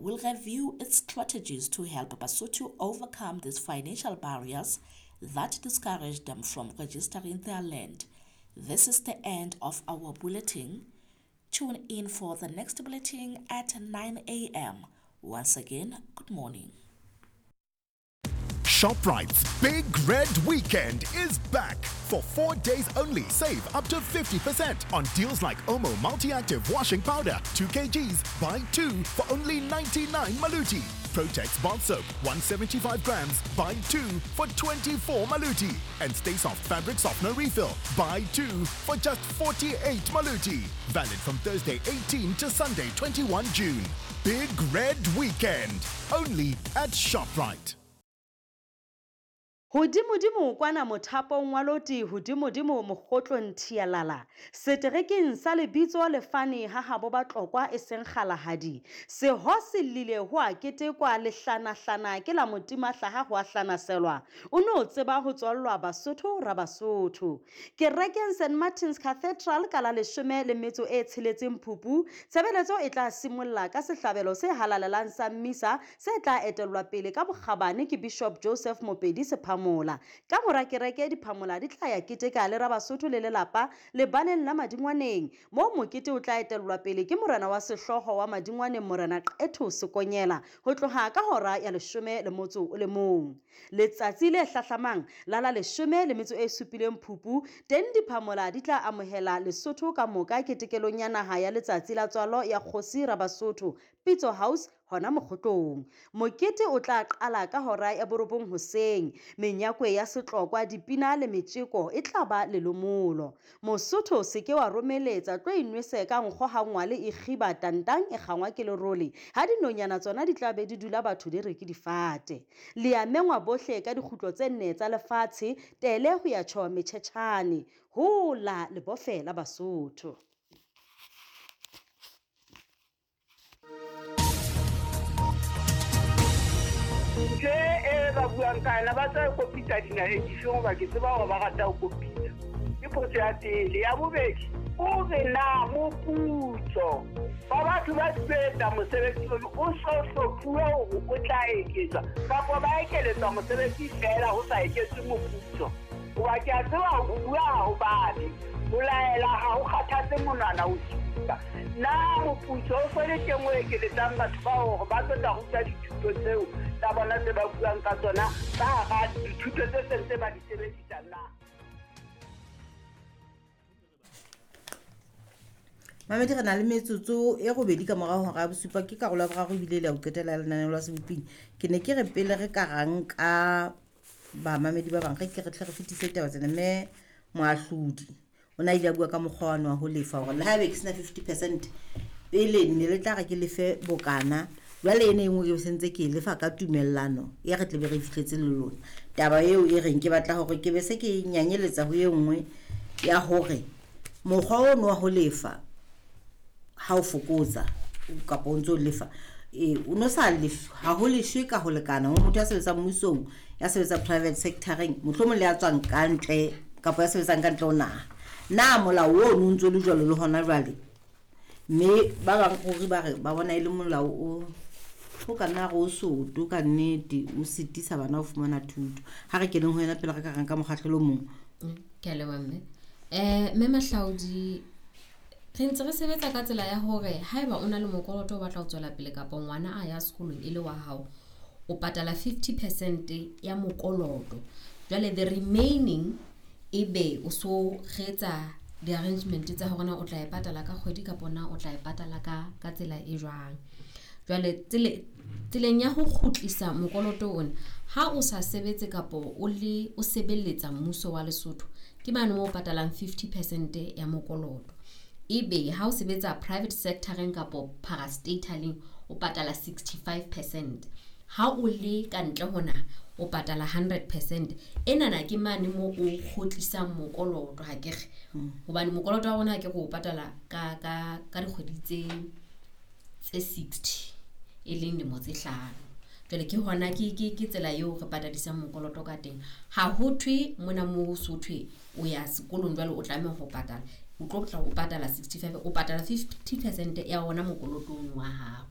will review its strategies to help Basotho overcome these financial barriers that discourage them from registering their land. This is the end of our bulletin. Tune in for the next bulletin at 9 a.m. Once again, good morning. ShopRite's Big Red Weekend is back. For 4 days only, save up to 50% on deals like Omo Multi-Active Washing Powder, 2 kgs, buy 2 for only 99 Maluti. Protex Bath Soap, 175 grams, buy 2 for 24 Maluti. And Stay Soft Fabric Softener Refill, buy 2 for just 48 Maluti. Valid from Thursday 18 to Sunday 21 June. Big Red Weekend, only at ShopRite. Hodimodimo kwana mothapong wa loti hodimodimo mokgotlong thialala seterekeng sa lebitso lefane ha habo Batlokwa e seng kgalahadi seho se llile ho a ketekwa lehlanahlana ke la motimahlaha ho a hlanaselwa o no tseba ho tswallwa Basotho ra Basotho kerekeng St Martin's Cathedral ka la 16 Phupu. Tshebeletso e tla simolla ka sehlabelo se halalelang sa mmisa se tla etellwa pele ka bokgabane ke Bishop Joseph Mopedi Sephamola. Ka mora kereke diphamola di tla ya keteka le Rabasotho le lelapa lebaleng la Madingwaneng moo mokete o tla etellwa pele ke morena wa sehlooho wa Madingwaneng Morena Qetho Sekonyela ho tloha ka hora ya 11. Letsatsi le hlahlamang la la 17 Phupu teng diphamola di tla amohela Lesotho ka moka ketekelong ya naha ya letsatsi la tswalo ya kgosi Rabasotho Pitso House hona Mokgotlong. Mokete o tla qala ka hora ya 9 hoseng. Menyakwe ya setlokwa, dipina le metjeko e tla ba lelomolo. Mosotho se ke wa romeletsa tlo inwese ka nkgo ha ngwale e kgiba tantang e kgangwa ke lerole. Ha dinonyana tsona di tla be di dula batho di re ke difate. Le a mengwa bohle ka dikgutlo tse nne tsa lefatshe tele ho ya tjho metjhetjhane. Hola lebofe la Basotho. Ntho e ba buang ka yona ba tla kopitsa dinaheng difeng hoba ke tseba hore ba rata ho kopitsa. Ke potso ya pele. Ya bobedi, o re na moputso wa batho ba etsa mosebetsi ono o so hlophuwe hore o tla eketswa kapa ba ekeletswa mosebetsi feela ho sa eketswe moputso. Hoba ke a tseba ho bua ha ho babe, ho laela ha ho kgathatse monwana ho supa. Na moputso o so le teng o ekeletsang batho bao hore ba tlo tla ruta dithuto tseo tsa bona tse ba buang ka tsona ka hara dithuto tse seng tse ba di sebedisang na? Mamedi, re na le metsotso e 8 ka morao hora ya 7, ke karolo ya boraro ebile le ya ho qetela ya lenaneo la Seboping. Ke ne ke re pele re ka ra nka bamamedi ba bang, re ke re tle re fetise taba tsena. Mme moahlodi o na ile a bua ka mokgwa wane wa ho lefa hore le haebe ke sena 50% pele ne le tla re ke lefe bokana, jwale ena e nngwe ke sentse ke e lefa ka tumellano e re tlebe re fihletse le lona. Taba eo e reng ke batla hore ke be se ke nyanyeletsa ho e nngwe ya hore mokgwa ono wa ho lefa ha o fokotsa kapa o ntso lefa o no sa lefe ha ho leshwe ka ho lekana ho motho ya sebetsang mmusong, ya sebetsang private sectoreng, mohlomong le ya tswang ka ntle kapa ya sebetsang ka ntle ho naha. Na molao ono o ntso le jwalo le hona jwale? Mme ba bang ruri ba re ba bona e le molao o ka nna re o soto ka nnete, o sitisa bana ho fumana thuto. Ha re keneng ho yena pele re ka reng ka mokgahlelo o mong. Ke a leboha mme. Mme Mahlaodi, re ntse re sebetsa ka tsela ya hore haeba o na le mokoloto o batla ho tswela pele kapa ngwana a ya sekolong e le wa hao, o patala 50% ya mokoloto. Jwale the remaining ebe o so retsa di-arrangement tsa hore na o tla e patala ka kgwedi kapa na o tla e patala ka tsela e jwang. Jwale tseleng ya ho kgutlisa mokoloto ona, ha o sa sebetse kapa o le o sebeletsa mmuso wa Lesotho, ke mane moo o patalang 50% ya mokoloto. Ebe ha o sebetsa private sectoreng kapo parastataleng o patala 65%. Ha o le ka ntle ho naha o patala 100%. Enana ke mane moo o kgutlisang mokoloto ha ke re. Hobane mokoloto wa rona ha ke re o patala ka dikgwedi tse 60 e leng lemo tse 5. Jwale ke hona ke tsela eo re patadisang mokoloto ka teng. Ha ho thwe mona moo so thwe o ya sekolong jwale o tlameha ho patala. O tlo tla o patala 65, o patala 50% ya ona mokolotong wa hao.